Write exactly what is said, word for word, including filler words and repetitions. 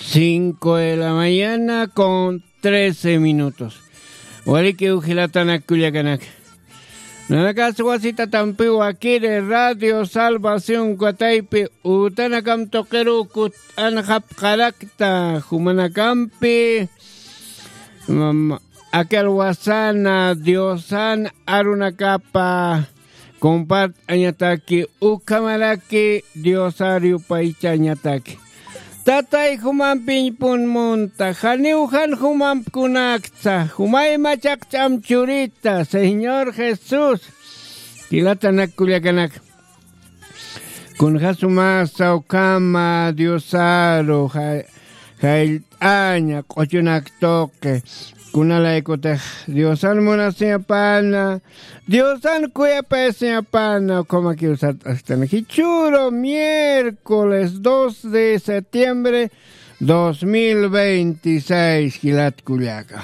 Cinco de la mañana con trece minutos. Walikiw jilatanak kullakanak. Nanakas wasitatampi wakiri Radio Salvación Kataypi utanakam tuqiruw kut'anxapxarakta jumanakampi. Mam, akal wasana Diosan arunakapa compart'añataki, ukhamaraki Diosar yupaychañataki. Tatay jumampiñpun munta, janiw jan jumamp kunakta, jumay machaq ch'am churita, Señor Jesús. Jilatanak kullakanak. Kunjasumasa ukhama Diosaru ja-, jayllt'aña q'uchunak tuqi. Kunalaykutix Diosan munasiñapana, Diosan kuyapayasiñapana, ukhamakiw sart'asktan. Jichhüru miércoles dos de septiembre dos mil veintiséis, jilat kullaka.